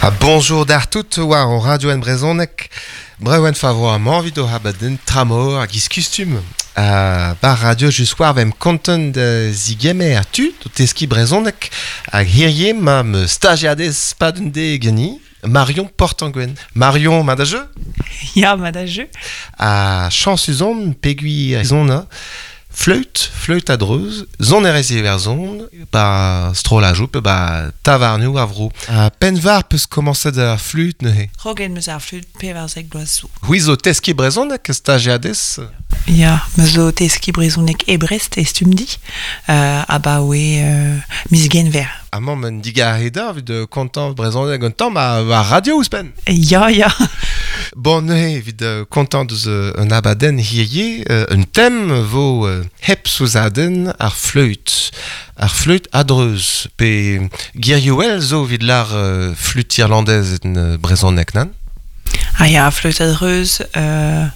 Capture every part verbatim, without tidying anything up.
Ha bonjour d'ar tout war o radio en brezhoneg. Brewen favor am envie o habaden tramor hag iskustum. Uh, bar radio just war vem kontent da zigemer tu o teski brezhoneg hag hirie ma me stagiadez padun de geni Marion Portanguen. Marion, ma da jeu? Ya, ma da jeu. A chansuzon pegui zona fleut, fleut a dreuz, zon erez iwerzon, ba strollajou pe ba tavarnioù a vro. A penvar peus komañset ar flute neuze. Rogen meus ar flute pevarzek bloaz zo. C'hwi zo teski brezhoneg stagiadez? Ya, me zo teski brezhoneg e Brest e stumdi, euh, abaoe euh, miz genver. Amañ men digareda evit euh, kontañ brezhoneg un tamm a, a radio ouzhpenn. Ya, ya. Bon neuze evit euh, kontañ deus euh, un abadenn hirie, euh, un tem vo euh, hep souzadenn ar fleut. Ar fleut a-dreuz. Pe girioù zo evit lar euh, flute irlandaise en euh, brezhoneg nan? Ah ya, fleut a-dreuz, euh,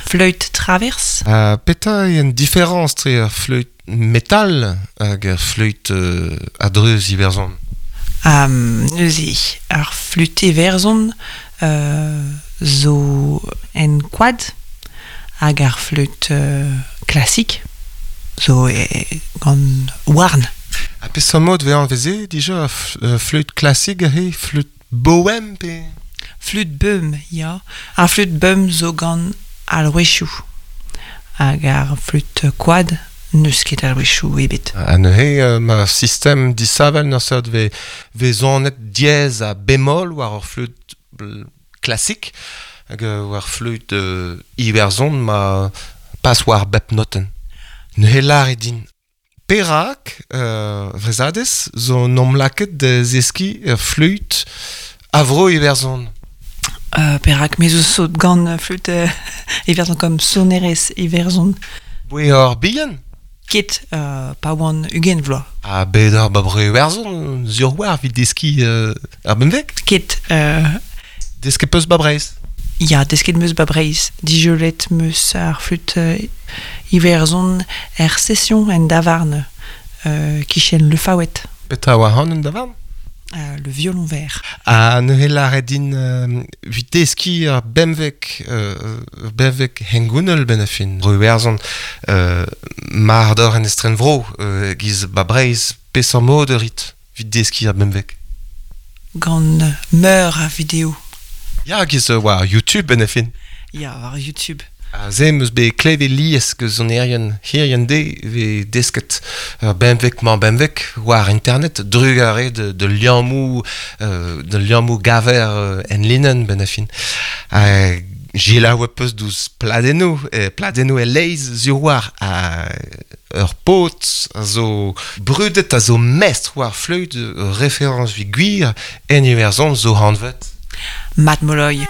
fleut traverse. Uh, petra eo an différence tre ar fleut metal hag ar fleut euh, a-dreuz iwerzhon? Um, neuze, ar flute iwerzhon euh, zo en koad hag ar fleut euh, klasik zo e, gant houarn. Ha peseurt mod vez anveze dija ar f- fleut klasik he fleut bohem pe? Fleut beum, ya. Ar fleut beum zo gant alrouezioù. Hag ar fleut koad n'eus ket alrouezioù ebet. Ha neuze euh, ma sistem disavel n'ur seurt vez vez zonet diez ha bémol war ur fleut klasik hag euh, war fleut euh, iwerzhon ma pas war bep notenn. Neuze lar e din. Perak, euh, vrezadez, zo nom laket da zeski ur fleut avro iwerzhon. Euh, perak, me zo sot gant fleut euh, iwerzhon kom sonerez iwerzhon. Boe ur bihan? Ket euh, pa oan ugent vloaz. Ha bet ur ba bro iwerzhon, zur war evit deski euh, ar benveg? Ket, euh, Desket peus ba Breizh? Ya, desket meus ba Breizh. Dijolet meus ar fleut euh, iwerzhon er session en davarn euh, kichen le Faouet. Petra oa han en davarn? Euh, le violon vert. Ha neuze lâret din euh, evit deski ar benveg, euh, benveg hengounel ben a fin. Bro iwerzhon, euh, mar d'or en estren vro, euh, giz ba Breizh, peseurt mod ur rit evit deski ar benveg? Gant meur a video. Ya, giz euh, war YouTube ben a fin. Ya, war YouTube. Ha ze meus bet klevet lies que sonerien hirien de ve desket uh, benveg mañ benveg war internet drugare de, de liammou euh, de liammou gaver euh, en linen ben a fin. Ha gila oa peus douz pladennoù, eh, pladennoù e leiz zur war a ur paotr a zo brudet a zo mestr war fleut référence vi gwir en iwerzhon zo hanvet. Matt Molloy.